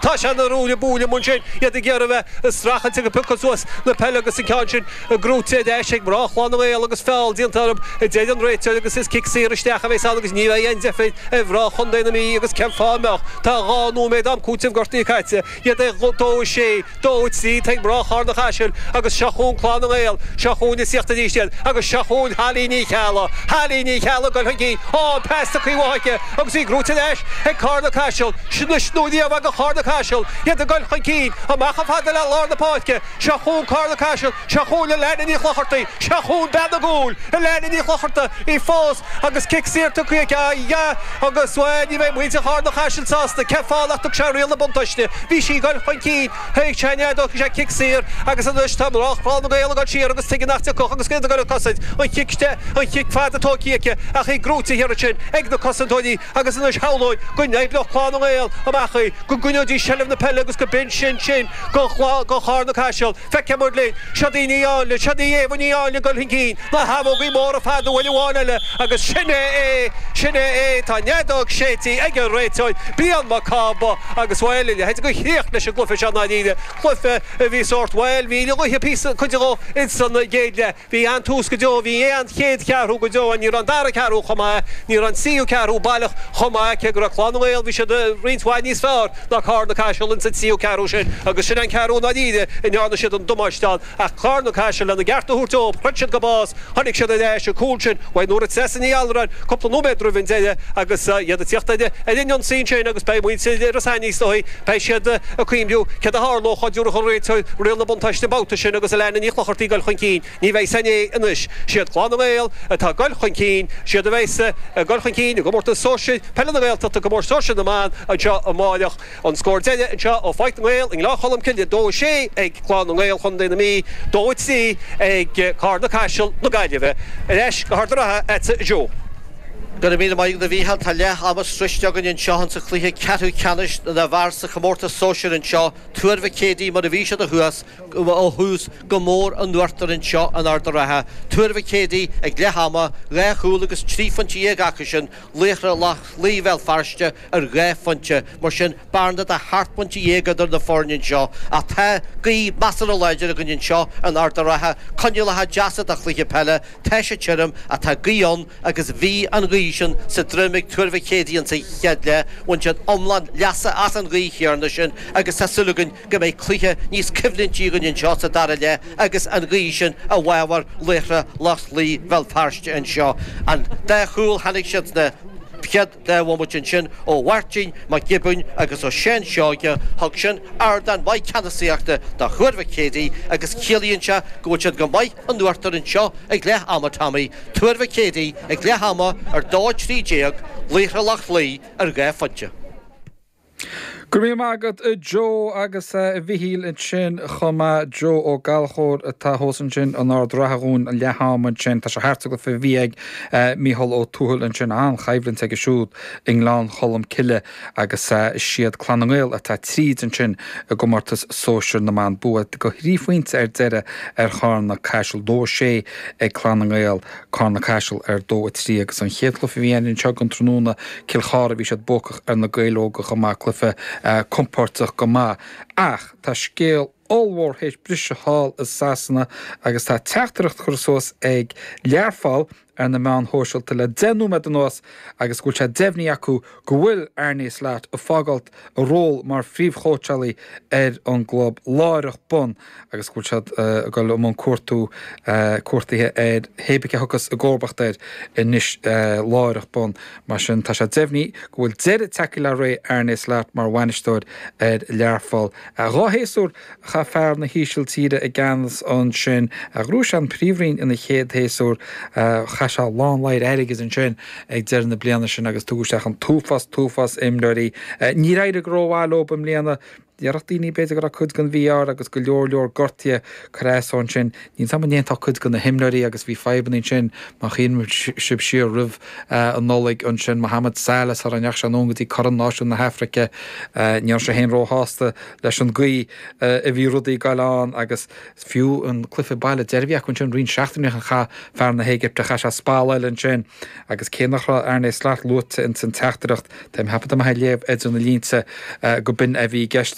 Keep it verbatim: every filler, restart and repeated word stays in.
Tá sé ina ruaille buaille amuigh ansin, iad ag iarraidh a bheith ag streachailt ag piocadh suas na peile agus an ceann sin gnóite ar ais ag mná Chlann na nGael agus feall déanta orthu, a deir an réiteoir agus is cic saor isteach a bheas ann agus ní bheidh aon deifir ar mhná chontae na Mí agus cén fáth a mbeadh? Tá dhá nóiméad am cúitimh gortaithe caite, iad ag dó a sé, dó a trí, tá ag mná Charna Caiseal agus seo chugainn Clann na nGael, seo chugainn ag tíocht arís iad agus seo chugainn Holly Ní Cheallaigh, Holly Ní Cheallaigh ag dul chun cinn, á an pas tugtha uaithi agus í gnóite ar ais ag Carna Caiseal, sin anois nó riamh ag Carna Caiseal, iad ag dul chun cinn, amach chomh fada le lár na páirce, seo chugainn Carna Caiseal, seo chugainn Alana Ní Chlochartaigh, seo chugainn bean na gcúl, Alana Ní Chlochartaigh, í fós agus cic saor tugtha aici, ah agus bhuel ní bheidh muintir Charna Caiseal sásta, cén fáth nach dtug sé riail na buntáiste, bhí sí ag dul chun cinn, thuig sé an fheadóg, thug sé cic saor agus anois tá mná Chlann na nGael ag dul siar agus tuige nach dtiocfadh agus iad ag dul ag cosaint, an chic, an chic fada tógtha aici ach í gnóite thiar ansin ag na cosantóirí agus anois shamhlóinn go n-oibreodh Clann na nGael amach í, go gcoinneoidís seilbh na peile agus go b'in sin sin do Charna Caiseal. Feicfidh muid linn. Siod í Ní Áinle, siod í Éabha Ní Áinle ag dul chun cinn, na habhógaí móra fada uair amháin eile agus sin é é, sin é é, tá an fheadóg séidte ag an réiteoir, Brian Mac Cába agus bhuel, a leithéid de chríoch leis an gcluiche seo i ndáiríre, cluiche a bhí sórt, bhuel, bhí an ghaoth píosa, cuid dhó ins an gcéad leath. Bhí an-tús go deo, bhí an-chéad cheathrú go deo, ní raibh an dara ceathrú chomh maith, ní raibh an tríú ceathrú baileach chomh maith, cé go raibh Clann na nGael, bhí siad roinnt mhaith níos fearr ná Carna Caiseal ins an tríú ceathrú sin agus sin an ceathrú i ndáiríre a ndearna siad an damáiste ann ach Carna Caiseal lena gceart a thabhairt dóibh, throid siad go bás, tháinig siad ar ais, an cúl sin uaidh Nóra Treasa Ní Allmhuráin cúpla nóiméad roimh an deireadh agus iad ag tíocht ar an ionsaí ansin agus beidh muintir Ros Ainní is dóigh, beidh siad ag cuimhniú céard a tharlódh dá dtabharfadh an réiteoir riail na buntáiste an babhta sin agus Alana Ní Chlochartaigh ag dul chun cinn. Ní bheidh san é anois. Siad Clann na nGael atá ag dul chun cinn, siad a bheas ag dul chun cinn i gcomórtas sóisir peile na Gaeltachta, comórtas sóisir na mban anseo amáireach. An scór deiridh anseo ó Pháirc na nGael i nGleann Cholm Cille, dó a sé ag Clann na nGael Chontae na Mí, dó a trí ag Carna Caiseal na Gaillimhe. Ar ais go hArd an Rátha agatsa a Joe. Go raibh míle maith agat a Mhícheáil. Tá leath ama sroichte againn anseo insa chluiche ceathrú ceannais na bhfear sa chomórtas sóisir anseo. Tuar Mhic Éadaigh mar a bhí siad ó thuas, ó thús go mór in uachtar anseo in Ard a' Rátha. Tuar Mhic Éadaigh ag leath ama, dhá chúl agus trí phointe dhéag acusan, Laochra Loch Lao Bhéal Feirste ar dhá phointe. Mar sin, bearna de sheacht bpointe dhéag idir na foirne anseo. Ach tá gaoth measartha láidir againn anseo in Ard a' Rátha, coinníollacha deasa do chluiche peile. Tá sé tirim ach tá gaoth ann agus bhí an ghaoth sin sa droim ag Tuar Mhic Éadaigh insa chéad leath. Bhain siad iomlán leasa as an ghaoth chéanna sin agus tá súil againn go mbeidh cluiche níos coimhlintí againn anseo sa dara leath agus an ghaoth sin i bhfabhar Laochra Loch Lao Bhéal Feirste anseo. An dá chúl tháinig siad sna chéad dá bhomaite ansin ó Mháirtín Mac Giobúin agus ó Sheán Seoige. Thug sin ardán maith ceannasaíochta do Thuar Mhic Éadaigh agus ciallaíonn sé go bhfuil siad go maith in uachtar anseo ag leath ama Tommy, Tuar Mhic Éadaigh ag leath ama ar dó a trí déag, Laochra Loch Lao ar dhá phointe. Go raibh míle maith agat a Joe agus a Mhichíl ansin chomh maith. Joe Ó Gallchóir atá thuas ansin in Ard an Rátha dhúinn ag leath ama ansin. Tá sé thart sa gcluiche a bhí ag Mícheál Ó Tuathail ansin. An-choimhlint aige siúd i nGleann Cholm Cille agus is iad Clann na nGael atá tríd ansin i gcomórtas sóisir na mban. Bua de thrí phointe ar deireadh ar Charna Caiseal. Dó a sé ag Clann na nGael. Carna Caiseal ar dó a trí agus an chéad chluiche a bhí ann anseo don tráthnóna, Cill Chartha, bhí siad buacach ar na Gaeil Óga chomh maith, cluiche compóirteach go maith. Ach tá scéal ollmhór théis briseadh thall i Sasana agus tá teachtaireacht curtha suas ag Learpholl ar na meáin shóisialta le deich nóiméad anuas agus go bhfuil sé deimhnithe acu go bhfuil Arne Slot ag fágáilt a ról mar phríomhchóitseálaí ar an gclub láithreach bonn agus go bhfuil siad ag dul i mbun cuartú cuartaithe ar hé bith cé a thiocfas i gcomharbacht air anois láithreach bonn. Mar sin tá sé deimhnithe go bhfuil deireadh tagtha le ré Arne Slot mar bhainisteoir ar Learpholl. Dhá shéasúr a chaith fear na hÍsiltíre i gceannas ansin. Ghnóthaigh sé an Phríomhroinn ina chéad shéasúr. Chaith sé a lán ladhar airgid ansin ag deireadh na bliana sin agus tugadh isteach an t-uafás, t-uafás imreoirí. Níor éirigh go rómhaith leo i mbliana. Déarfadh daoine b'fhéidir go raibh cuid den mhí-ádh air agus go leor leor gortuithe curtha as dó ansin. Níl 's agam an ndéanfá cuid de na himreoirí agus bhí fadhbanna ansin má chuimhníonn sibh siar roimh an Nollaig ansin, Mohamed Salah sara ndeachaigh sé anonn go dtí Corn Náisiún na hAfraice. Ní raibh sé féin róshásta leis an gcaoi a bhí rudaí ag goil ann agus fiú an cluiche baile deiridh a bhí acu ansin roinnt seachtainí ó shin chaith fear na hÉigipte, chaith sé spalláil ansin agus cé nach raibh Arne Slot luaite ins an teachtaireacht, tá mé ag ceapadh tá mé ag léamh idir na línte go b'in a bhí i gceist.